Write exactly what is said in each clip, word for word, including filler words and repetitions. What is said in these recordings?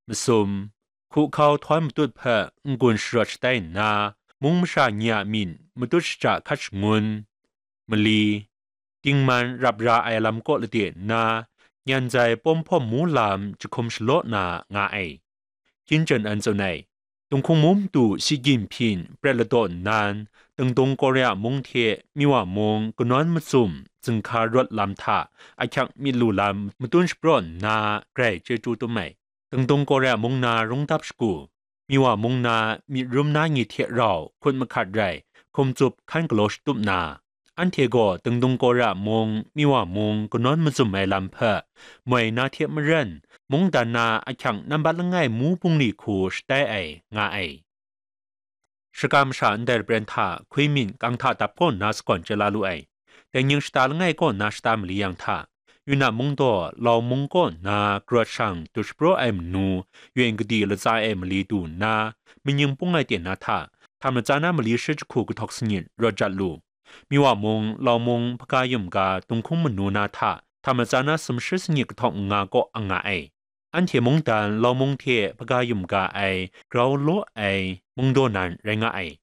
masum, hkuhkau htawm matut hpe n-gun sharawt shatai nna, mung masha ni a myin matut shaja hkat shangun, mali, dingman rap ra ai lam kaw lade nna, nyan zai pawm hpawm mu lam jahkum shalaw na nga ai. Hkyin Jan An tsun ai, Tunghkung Mung Madu Shi Jinpying pret ladaw nnan, Dingdung Korea mung hte Miwa mung kanawn mazum zinghka rawt lam hta ahkyak myit lu lam matun shapraw nna grai chyeju tum ai. Dingdung Korea mung na rungdap shagu, Miwa mung na myit rum na ni hte rau hkut mahkat rai hkum tsup hkan galaw shatup na, anhte gaw Dingdung Korea mung, Miwa mung kanawn mazum ai lam hpe moi na hte maren, mungdan na ahkyang nambat langai mu bungli hku shatai ai nga ai. Shaka masha ndai lapren hta hkui myin kang hta dap kaw nna sagawn chye la lu ai. Dai ning shata langai kaw nna shata mali yang hta, Yunnan mung daw Lau mung kaw nna karawt shang dut shapraw ai manu, Yuen Kadi latsa e mali du nna, Manying Pung Ai Ten na hta, Htam Latsa Na mali shi jahku kahtawk sangit rawt jat lu. Miwa mung, Lau mung, Hpaga Yum ga Tunghkung Manu na hta, Htam Latsa Na sumshi sangit kahtawk nga kaw ang nga ai. Anhte mungdan Lau mung hte Hpaga Yum ga ai grau law ai mungdaw nan rai nga ai.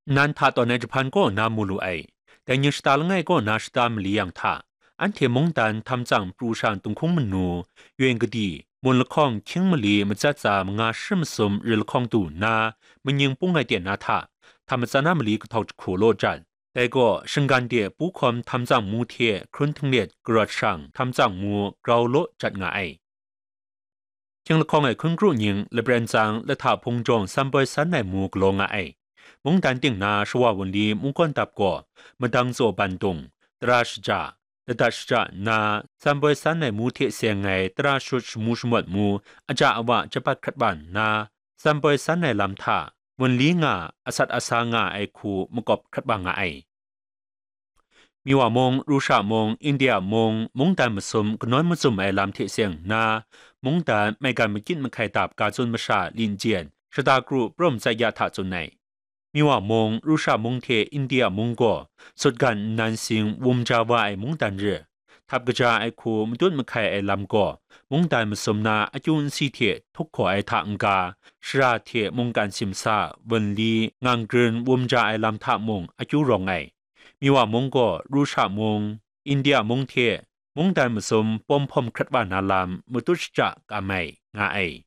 Nnan hta tawn ai jahpan kaw na mu lu ai. Dai ning shata langai kaw na shata mali yang hta, anhte mungdan Htam Tsang pru sha Tunghkung Manu, Yuen Kadi, Mun lahkawng hkying mali matsat tsa manga shi masum ri lahkawng du nna, Manying Pung Ai Ten na hta, Htam Latsa Na mali kahtawk jahku law jat. Dai gaw, shinggan de pu hkawm Htam Tsang mu hte hkrun htinglet karawt shang Htam Tsang mu grau law jat nga ai. Hkying lahkawng ai hkun kru ning, lapren tsang, lahta hpung jawng san poi san ai mu galaw nga ai. Mungdan ting na shawa wunli mungkawn dap gaw, madang tsaw bandung, tara shaja, ladat shaja nna, san poi san ai mu hte seng ai tara shut shamu shamawt mu, aja awa jabat hkrat wa nna, san poi san ai lam hta, wunli nga, asat asa nga ai hku makawp hkrat wa nga ai. Miwa mung, Rusha mung, India mung, mungdan masum kanawn mazum ai lam hte seng nna, mungdan maigan makyit mahkai dap ga tsun masha Lin Jen, shata kru prum tsai ya hta tsun ai. Miwa mung, Rusha mung hte India mung gaw sutgan nnan sing wum ja wa ai mungdan re. Htap kaja ai hku matut mahkai ai lam gaw, mungdan masum na akyu nsi hte htuk hkaw ai hta n-ga, shara hte mungkan simsa, wunli, ngang grin wum ja ai lam hta mung akyu rawng ai. Miwa mung gaw Rusha mung, India mung hte mungdan masum pawm hpawm hkrat wa na lam matut shaja kam ai, nga ai.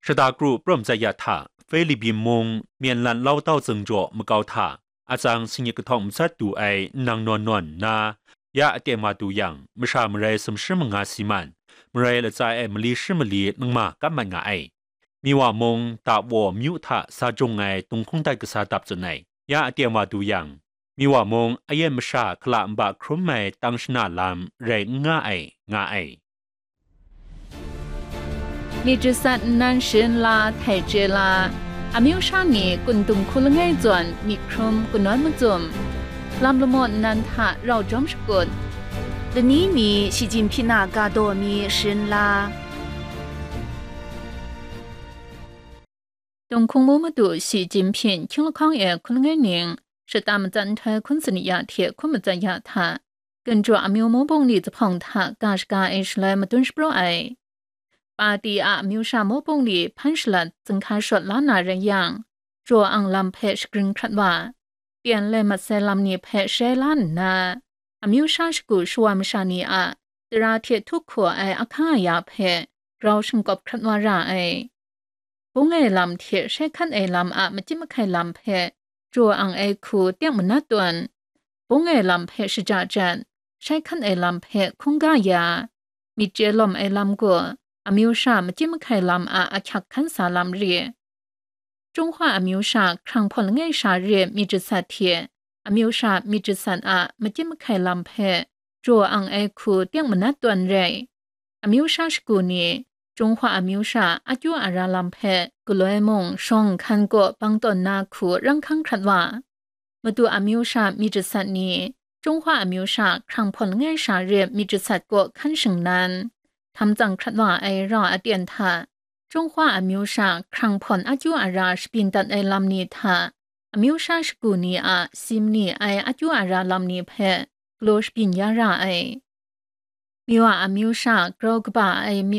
Shata kru prum tsai ya hta, Filipin mung, Myen lan Lau Tau Tsing jaw makau hta, atsang singit kahtawng matsat du ai nnang nawn nawn nna, ya aten wa du yang, masha marai sumshi manga si man, marai latsa e mali shi mali nangma kap mat nga ai. Miwa mung, Dawo myu hta sa jung ai tunghkung dat kasa dap tsun ai, ya aten wa du yang, Miwa mung, ayen masha hkala nba hkrum ai tang shana lam rai n nga ai, nga ai. Myit jasat nnan sharin la, htai chye la, amyu sha ni kun dung hku langai zawn myit hkrum kanawn mazum, lam lamaw nnan hta rau jawm shakut, lani mi shi jin hpyi na ga daw mi sharin la. Tunghkung Mung Madu Shi Jinpying hkying lahkawng e hkun langai ning, shata matsat nhtoi hkun sanit ya hte hkun matsat ya hta, Gun jaw amyu mung bungli zuphpawng hta ga shaga ai shaloi madun shapraw ai. Pati a amyu sha mung bungli hpan shalat zinghka shawt la na rai yang, jaw ang lam hpe shagrin hkrat wa, pyen lai mat sai lam ni hpe shai la nna, amyu sha shagu shawa masha ni a tara hte htuk hkaw ai ahkang aya hpe grau shingkawp hkrat wa ra ai. Bung ai lam hte shai hkan ai lam a machyit mahkai lam hpe jaw ang ai hku teng manat tawn, bung ai lam hpe shaja jat, shai hkan ai lam hpe hkungga ya, myit chye lawm ai lam gaw amyu sha machyit mahkai lam a ahkyak hkan sa lam re. Chyunghka amyu sha hkrang hpawn langai sha re myit jasat hte amyu sha myit jasat a machyit mahkai lam hpe jaw ang ai hku teng manat tawn rai. Amyu sha shagu ni, Chyunghka amyu sha akyu ara lam hpe galoi mung shawng nhkan kaw bang tawn na hku rang hkang hkrat wa, Madu amyu sha myit jasat ni, Chyunghka amyu sha hkrang hpawn langai sha re myit jasat kaw hkan shingnan, htam tsang hkrat wa ai rau aten hta, Chyunghka amyu sha hkrang hpawn akyu ara shabyin dat ai lam ni hta, amyu sha shagu ni a si mani ai akyu ara lam ni hpe galaw shabyin ya ra ai. Miwa amyu sha grau kaba ai